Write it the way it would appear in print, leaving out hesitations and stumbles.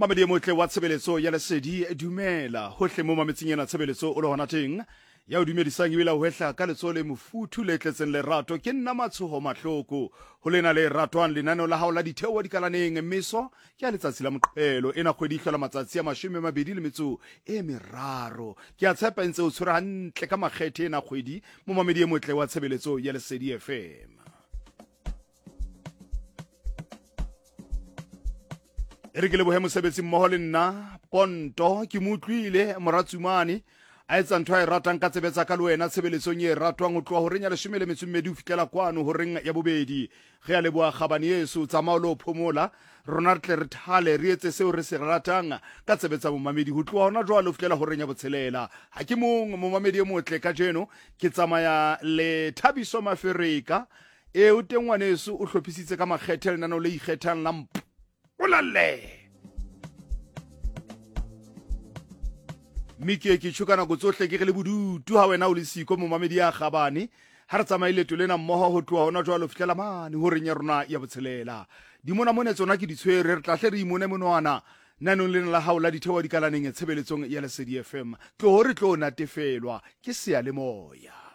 Mamedi e motle wa tshebeletso ya Lesedi, dumela hohle mo mametseng ena tshebeletso o le hona teng. Ya o dumedisang ebile a o hwehla ka letsoho le mofuthu le tletseng lerato ke nna Matshoho Mahloko. Ho lena le ratwang lenaneo la hao la ditheo dikalaneng meso ke ya letsatsi la Moqebelo. Ena kgwedi e hlola matsatsi a 23. Ke a tshepa e ntse o tshwere hantle ka makgethe ena kgwedi, momamedi e motle wa tshebeletso ya Lesedi FM. E re ke lebohe mosebetsi mmoho le nna Ponto, ke mo utlwile Moratsumane a etsa ntho a e ratang ka tsebe tsa ka le wena tshebeletsong e ratwang ho tloha horeng ya 12 ho fihlela kwano horeng ya bobedi. Ge a leboha kgabane yeso, tsamao le ho phomola, rona re tle re thale re etse seo re se ratang ka tsebe tsa momamedi ho tloha hona jwale ho fihlela horeng ya botshelela. Ha ke mong momamedi e motle kajeno, ke tsamaya le Thabiso Mafereka. Ee, o teng ngwaneso, o hlophisitse ka makgethe lenaneo le ikgethang la Mpolelle. Mme ke ke tjho ka nako tsohle ke re le bodutu ha wena o le siko momamedi ya kgabane. Ha re tsamaye leeto lena mmoho ho tloha hona jwale ho fihlela mane horeng ya rona ya botshelela. Dimonamone tsona ke di tshwere, re tla hle re imone monwana nanong lena la hao la ditheo dikalaneng tshebeletsong ya Lesedi FM. Tloho re tlo natefelwa ke seyalemoya.